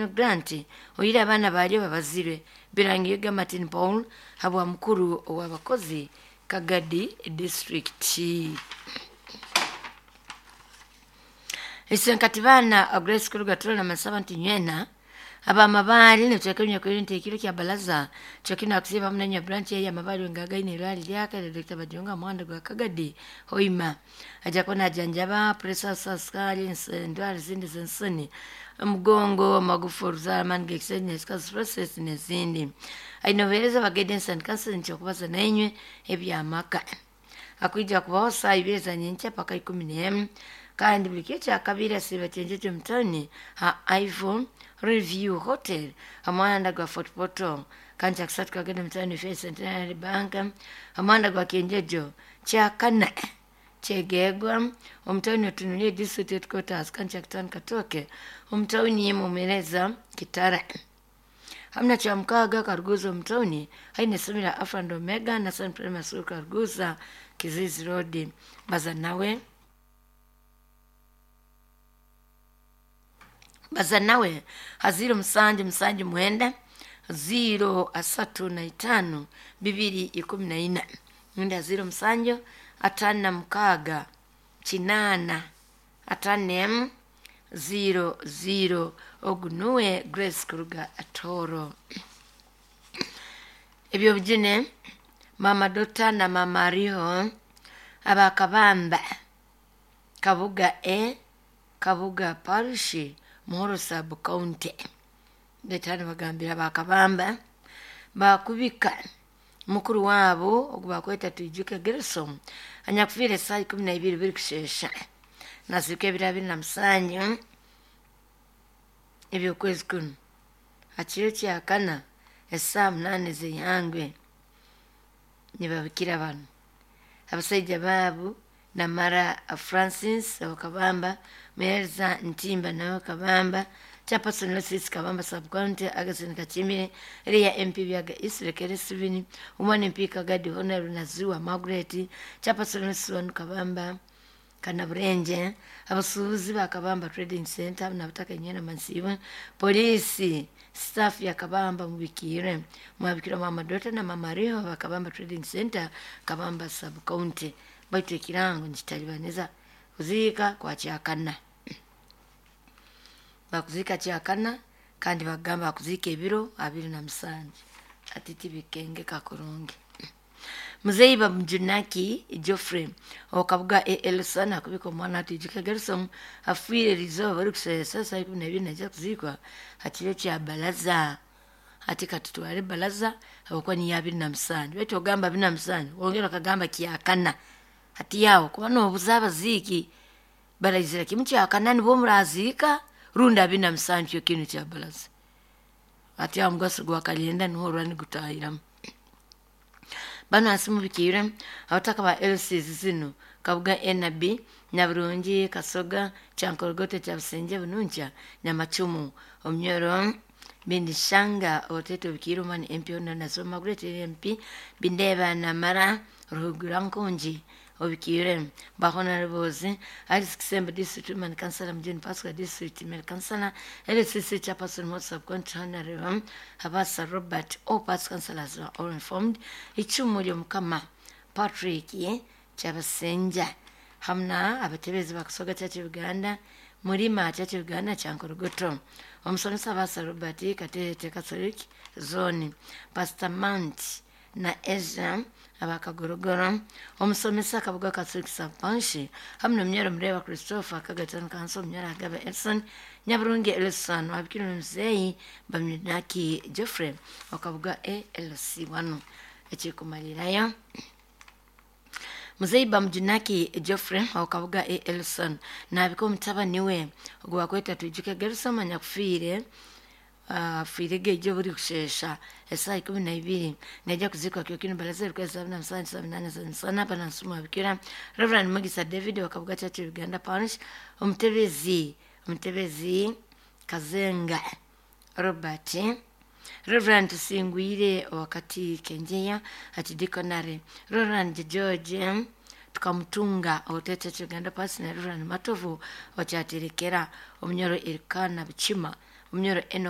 Grant oyire abaana baalyo babazirwe Birangirwa Martin Paul habwa mukuru ow'abakozi Kagadi disitulikiti. Isenkati baana Grace Kuruga Tulola masaba nti nywena abamabaali nitweka nyakwiri nti ekiro kya balaza kyokina akusiba hamwe nanya branch ya mabaali ngagaine irwali lyaka lya Dr. Bajonga muhanda gwa Kagadi Hoima aja kuba najanjaba pressure sukari endwara zindi z'ensoni omugongo amagufa oruzaara amaani g'ekisajja nesikazi process n'ezindi. Aine obuheereza bwa guidance and counseling kyokubaza nainywe eby'amaka. Akwija kubaho saaha ibiri za nyenkya paka 11 kandi buli kiro kyakabiri asiiba kyenjeje omu tawuni ha Ivo Review Hotel ha muhanda gwa Fort Portal kandi kyakusatu kagenda omu tawuni Faith Centenary Bank ha muhanda gwa Kyenjejo kyakana kyegegwa omu tawuni Otunulie District Headquarters kandi kyakutaano Katooke omu tawuni Mumereza Kitara. Hamuna kyamukaaga Karuguza omu tawuni haine essomero lya Alpha and Omega National Primary School Karuguza Kizizi Road baza nawe baza nawe ha 07 79 0 35 2 14 rundi ha 07 56 8 5 00 ogu nuwe Grace kuruga Tooro. Ebyobujune Mama Dota na Mama Ariho abakabamba Kabuga A Kabuga Parish Muhoro Sub County betano bagambira bakabamba bakubika mukuru waabo ogu bakweta Twijuke Gerson anyakufiire esaaha 12 birikushesha nasiika ebiro 27 eby'okwezi kunu ha kiro kyakana esaaha 8 z'eihangwe nibabikira banu abasaija baabu Namara Francis owakabamba Muhereza Ntimba nawe Kabamba Chairperson Losisi Kabamba Sub County Augustine Kachimire Eria MP Byaga East Rekere Steven Umwana MP Kagadi Honorable Naziwa Margaret Chairperson Losisi Wanu Kabamba Kanaburenje abasuubuzi ba Kabamba Trading Center nabutaka nyena Mansiba polisi staff ya Kabamba mubikire mwabikira mama Dota na mama Riho ba Kabamba Trading Center Kabamba Sub County baitu ekirango nikitalibaniza kuziika kwa kyakana bakuziika kyakana kandi bagamba bakuziika ebiro 27 ati tibikengeka kurungi. Muzeyi Bamujunaki Geoffrey owakabuga Elson akubika omwana Atwijuke Gerson afiire erizooba barikusheesa saaha 12 naija kuziikwa ha kiro kya balaza ati katutware balaza habwokuba niyo 27 baitu ogamba 27 wongera okagamba kyakana hati yawe kuba noobuza abaziiki baraizira kimu kyakana nibwo muraziika rundi 27 kyo kinu kya balaza ati aho omugaso gwa kalenda niho orura nigutahiramu. Banu hansi mubikiire abataka ba LCs zinu Kabuga NB Nyaburungi Kasoga Kyankorogoto Kyabusinge Bununkya Nyamacumu Omunyoro Bindishanga Otete Obikiire Omwana MP Honorable Naziwa Margaret MP Bindeeba Namara Ruhugura Nkungi Obikiire ba Honorables Alice Kisembo District Woman Councillor Mujuni Pascal District Male Councillor LCC Chairperson Moses Sub County Honorable Habasa Robert all party councillors are all informed icumu ly'omukama Patrick Kyabasinja hamwe abatebezi ba Kasoga Church Uganda Murima Church Uganda Kyankorogoto omusomesa Habasa Robert Katete Catholic Zone Pastor Mount na Ezra abakagorogoro omusomesa Kabuga Catholic Sub-Parish hamwe n'omunyoro Mureba Christopher Kagatano Kanso omunyoro Agaba Elson Nyaburungi Elson wabikira omuzeeyi Bamujunaki Geoffrey wakabuga ALC 1 ekirikumalirayo Muzeyi Bamujunaki Geoffrey wakabuga Elson nabika omutabani we ogu bakweta Twijuke Gerson anyakufiire afiire geijo burikushesha esaaha 12 naija kuziikwa kiro balaza ebikwezi 77 78 banansuma abikira Reverend Mugisa David wakabuga Church Uganda Parish omutebezi Kazenga Robert Reverend Tusingwire wakati Kenjeya ati Dikonare Reverend George tukamutunga otete Church Uganda Parish na Reverend Matovu wakyaterekera omunyoro Erikana Bukima Omunyoro Enock.